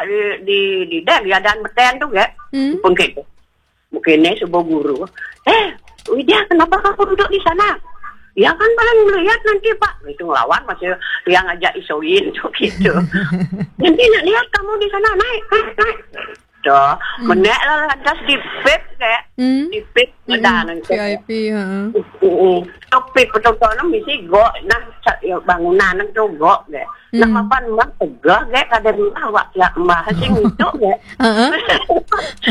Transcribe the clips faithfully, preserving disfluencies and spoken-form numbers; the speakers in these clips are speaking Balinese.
di, di, di, di, di, ada meten tu, ya. Hmm. Pun gitu. Mungkin ni sebuah guru. "Eh, Widya, kenapa kamu duduk di sana?" "Ya kan paling melihat nanti, Pak." Itu ngelawan masih yang ngajak isoin tu gitu. "Nanti nak lihat kamu di sana, naik, naik, naik." Dah, hmm, menek lah lantas di pip, kayak. Hmm. Di pip, hmm, ada nanti. V I P, ha. Uh, uh. Tu pip betul-betul misi gok, nah, sa-, ya, bangunan tu gok, kayak. Nak, hmm, mapan mbah tegah, kayak, kada mbah awak tiap mbah sing itu, kayak. Heeh.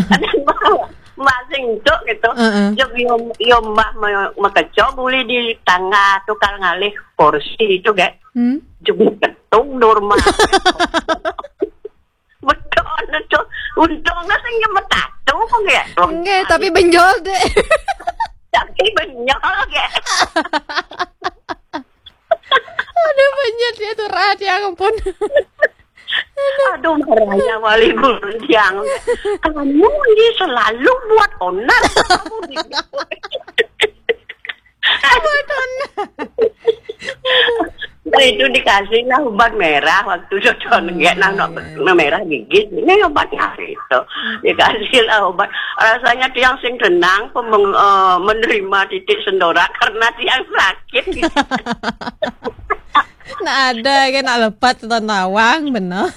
Kada mbah awak, mbah sing itu gitu. Heeh. Jog yo, yo mbah me-, mekeco buli di tangga tu kal ngalih kursi itu, kayak. Hmm. Jog ketung dur mah. Betul, betul. Untungnya sing nyemet tatu kok ya. Enggak, tapi benjol deh. Tapi benjol, kayak. Aduh, benjol dia tuh rat, ya ampun. Aduh, marahnya wali guru tiang. "Kamu ini selalu buat onar." Kamu di Buat onar. Nah, itu dikasih lah obat merah waktu itu, hmm, nggak, nah, iya, iya, merah gigi. Ini obatnya itu. Hmm. Dikasih lah obat. Rasanya tiang sing tenang, pemeng-, eh, menerima titik sendora karena tiang sakit. Nah, ada kan, nak lepat atau nawang, benar.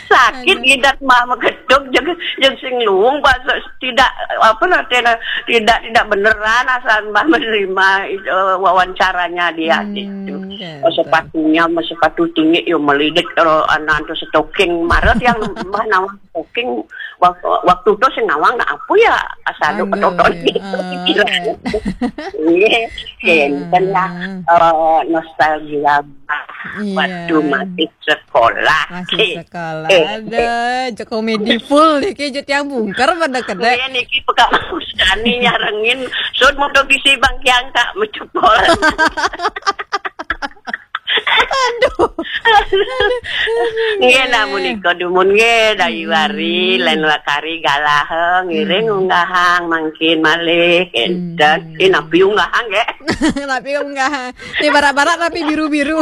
Sakit. Aduh. Gidat mbah megetuk, jeng, jeng sing luung, bahasa tidak, apa nanti, tidak, tidak beneran asal mbah menerima, eh, wawancaranya dia, hmm, gitu. Gitu. Oh, sepatunya, sepatu tinggi, yo melilit, kalau anak tu stocking, marah yang mbah nawang stocking, waktu, waktu tu sing nawang nak apa ya, asal lu, aduh, ketoton ya, gitu, ah, pikiran. Kan. Iya, kan lah, ah, eh, nostalgia, bah, iya, waktu masih sekolah. Masih, eh, sekolah. Eh, ada, eh. Jok komedi full nih, kayak jut yang bungker pada kedek. Iya, niki peka makusani nyarengin, sun mau ke bisi bang kiang kak, mencepol. Aduh. Nggih, namun ika dumun nggih, Dayu Wari, hmm, lain lakari galah, ngiring, hmm, unggahang, mangkin malih, enten. Hmm. Eh, napi unggahang, nggih? Napi unggahang. Ini barak-barak tapi biru-biru.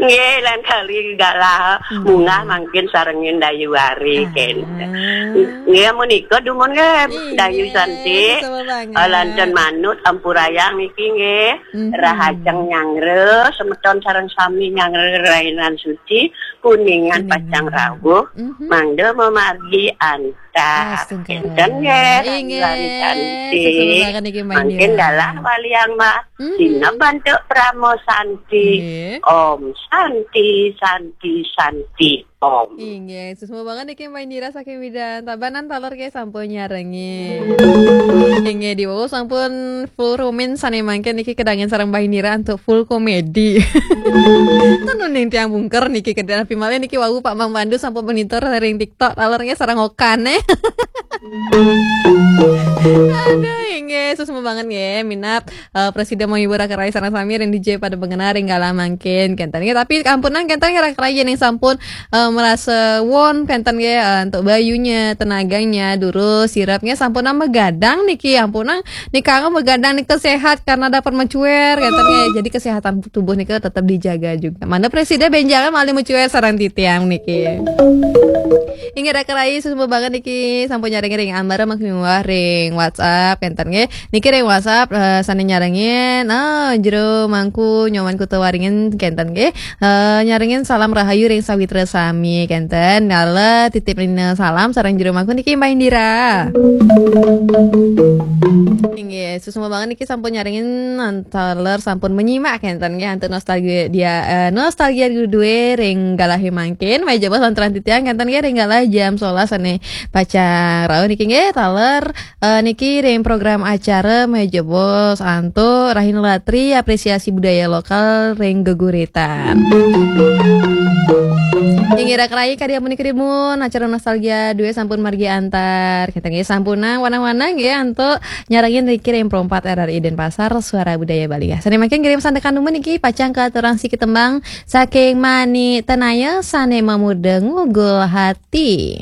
Nggih, lain kali galah, hmm, munggah mangkin sarengin Dayu Wari, ah, kenten. Nggih, menika dumun nggih, iya, Dayu Santi. Sama banget. Lanten manut, ampurayang niki nggih. Mhm. Rahajeng nyangre, semeton sareng sami nyangre rainan suci, kuningan, kuningan pacang rawuh, mhm, mangda memargi antar. Astungkara. Kenten nggih, inggih, Dayu Wari Santi. Suksma banget niki, Mbak Indira. Mangkin galah waliang mah, mhm, sineb antuk Parama Santi. Nggih. Om Santi, Santi, Santi. Om. Inggih, suksma banget niki Mbak Indira saking Bidan. Tabanan taler ke sampun nyarengin. Inggih, di bawah sampun full rumin sane mangkin niki kedangan sareng Mbak Indira untuk full komedi. Tenun ning tiang bungker niki kedan api malih niki wau Pak Mang Pandu sampun monitor ring TikTok taler nggih sareng okan, eh. Aduh, inggih, suksma banget nggih, minab eh, presida menghibur raka rai sareng sami ring D J pada bengenah ring galah mangkin kenten nggih. Tapi ampunang kenten nggih raka rai yen sampun, eh, merasa won kenten nggih, eh, untuk bayunya, tenaganya, durus, sirapnya sampun nambah gadang niki, ampunang nika begadang nika sehat karena dapat mencuer kenten nggih. Jadi kesehatan tubuh nika tetap dijaga juga. Mana presida benjangan malih mencuer sareng titiang niki. Inggih raka rai suksma banget niki sampun nyarengin ring ambar makin ring WhatsApp kenten nggih. Niki ring WhatsApp, eh, sane nyarengin, ah, jero mangku nyoman kuta waringin kenten nggih. Eh, nyarengin salam rahayu ring sawitra sami kenten. Dala titip rina salam sareng jero mangku niki Mbak Indira. Inggih, suksma banget niki sampun nyarengin taler sampun menyimak kenten nggih antuk nostalgia dia, eh, nostalgia duwe ring galah mangkin. Maya jebos lantaran titiang kenten nggih ring galah jam sebelas sane pacang rauh niki nggih taler Eh, niki ring program acara Meja Bos antuk Rahina Latri apresiasi budaya lokal ring geguritan. Inggih raka rai kadi amun kerimun acara nostalgia duwe sampun margi antar. Kita nggih sampunang wanang-wanang nggih antuk nyarengin niki ring Pro empat R R I Denpasar Suara Budaya Bali. Sane mangkin ngirim sandekan dumun niki pacang katurang siki tembang saking Mani Tenaya sane mamurda ngugul hati.